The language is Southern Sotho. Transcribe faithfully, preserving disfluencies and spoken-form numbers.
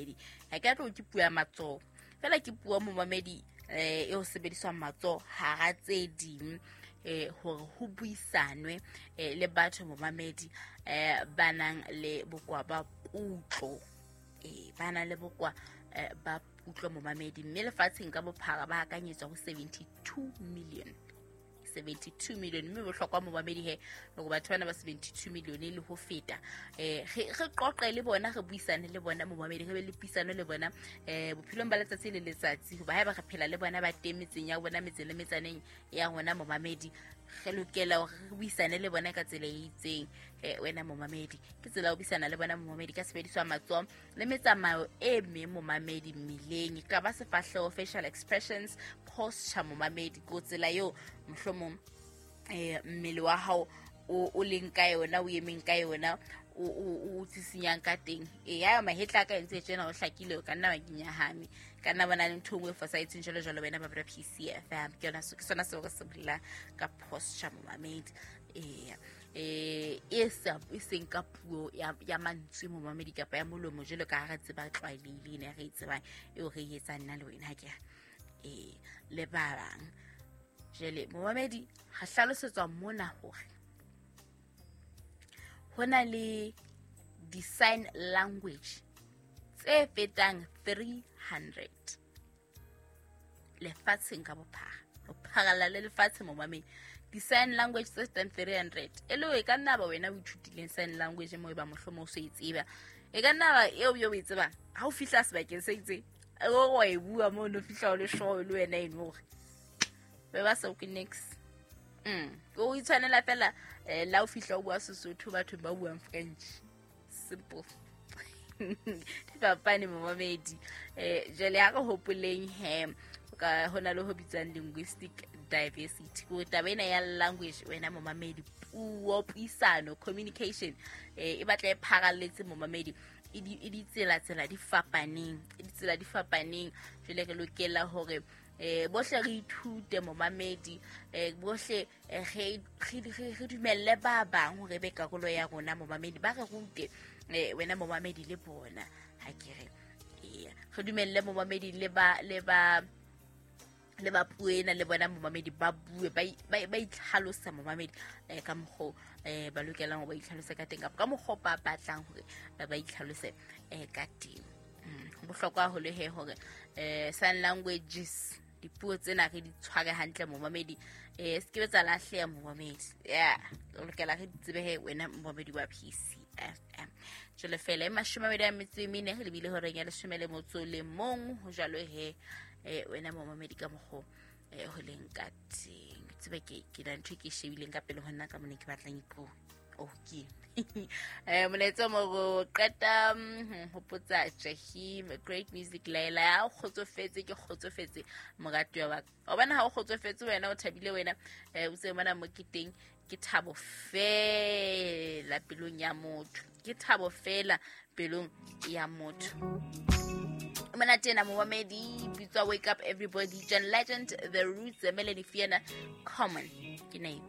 momamedi. Ha ke tlo ke puo ya matsoho fela, ke puo momamedi eh e ho sebediswa matsoho hara tse ding eh hore ho buisanwe eh le batho momamedi eh ba nang le bokwa ba kutlo, eh ba nang le bokwa eh, ba kutlo momamedi. Mme lefatsheng ka bophara ba akanyetswa ho seventy-two million, seventy-two million. Mme bohlokwa momamedi he hore batho bana ba seventy-two million le ho feta eh re re qoqe le bona, re buisane le bona momamedi, re be le puisano le bona eh bophelong ba letsatsi le letsatsi. Hoba haeba re phela le bona ba teng metseng ya bona, metseng le metsaneng ya rona momamedi, re lokela hore re buisane le bona ka tsela e itseng. Eh wena momamedi, ke tsela ya ho buisana le bona momamedi ka sebediswa matsoho le metsamao e meng momamedi mmeleng, e ka ba sefahleho, facial expressions, posture momamedi, ko tsela eo mohlomong eh mmele wa hao o o leng ka yona, o emeng ka yona, o o o tsisinyang ka teng. E ya mahetla ka entse tjena o hlakile, o ka nna wa kenyahame, ka nna bona le ntho e nngwe e fosahetseng jwalo jwalo. Wena ba P C F M, ke yona ke sona seo re se bolelang ka posture momamedi. Eh eh e sa e seng ka puo ya ya mantswe momamedi kapa ya molomo jwalo ka ha re tseba tlwaelehile ena re e tsebang eo re e etsang nna le wena ke eh le ba bang. Jwale momamedi re hlalosetswa mona hore ho na le di-sign language tse fetang three hundred lefatsheng ka bophara, ho pharalla le lefatshe momamedi. Di-sign language tse fetang three hundred, e le e ka nna ba wena o ithutileng sign language mo e ba mohlomong o so e tseba, e ka nna ba eo yo o e tsebang ha o fihla sebakeng se itseng o wa e bua mo no fihla o le sure le wena eno hore be ba sa o ke next. Mm o itshwanela fela eh la o fihla o bua Sesotho batho ba buang French, simple. Di fapane momamedi. Eh jwale ha re hopoleng he ka hona le ho bitswang linguistic diversity, ko taba ena ya language wena momamedi, puo, puisano, communication eh e batla e pharalletse momamedi, e di e ditsela tsela di fapaneng, e ditsela di fapaneng. Jwale re lokela hore eh bohle re ithute momamedi, eh bohle re re re dumelle ba bang hore be karolo ya rona momamedi, ba re rute eh wena momamedi le bona ha ke re eh re dumelle momamedi le ba le ba le ba puo ena le bona momamedi ba bue ba ba itlhalosa momamedi eh ka mokgo eh ba lokelang hore ba itlhalose ka teng kapa ka mokgo ba batlang hore ba itlhalose eh ka teng. Ho bohlokwa haholo he hore eh sign languages dipuo tsena re di tshware hantle momamedi, eh se ke tsa lahleha momamedi. Yeah, o lokela re di tsebe he wena momamedi wa P C F M. Jwale fela e mashome a mabedi a metso e mene re lebile horeng ya leshome le motso le mong, ho jwalo he eh wena momamedi ka mokgo eh ho leng ka teng. Tsebe ke ke na ntho e ke shebileng ka pele ho nna ka mone ke batlang ipuo. Okay. Eh molaetsa mo go qeta hopotsa Jahim great music Laila, o kgotsofetse ke kgotsofetse moratuwa wa ka. O bona ha o kgotsofetse wena o thabile wena eh o tse bona mo ke teng ke thabo fela pelong ya motho, ke thabo fela pelong ya motho. Mona tena momamedi bitswa Wake Up Everybody, John Legend, The Roots, Melanie Fiona, Common ke name.